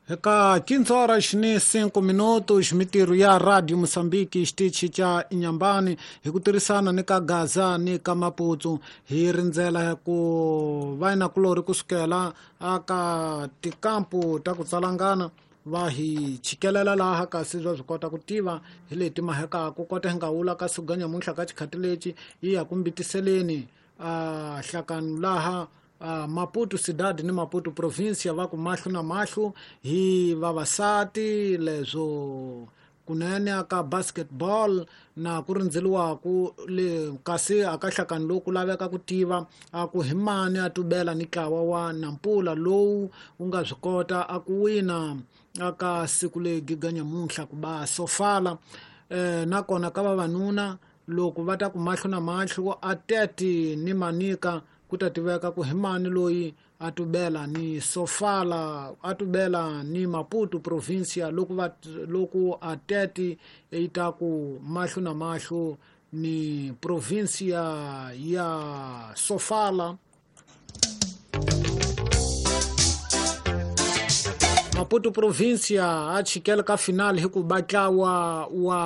Eka 15 horas ni 5 minutos mitirho ya Radio Mozambique xitichi xa Inhambane hi ku tirhisana ni ka Gaza ni ka Maputo hi rindzela ku vayinakulorhi kusukela aka tikampu ta ku tsalangana va hi chikelela laha kasi bya swi kota ku tiva hi leti mahekaku kota hi nga wula ka siku nyamuntlha ka xikhati lexi yi ya ku mbitiseleni a hlakano laha Maputo Cidade ni Maputo Provincia va ku mahlo na mahlo hi vavasati leswo kunene aka basketball na ku rindzeliwaku le kasi aka hlakano lowu ku laveka ku tiva a ku hi mani a tubela ni ntlawa wa Nampula lowu wu nga swi kota a ku wina aka siku leyi giga nyamuntlha ku ba Sofala nakona ka vavanuna loko va ta ku mahlo na mahlo a teti ni Manika ku ta tiveka ku hi mani loyi a tubela ni Sofala a tubela ni Maputo Provincia loko va loko a teti yi ta ku mahlo na mahlo ni provincia ya Sofala. Maputo Provincia a chikela ka final hi ku ba ntlawa wa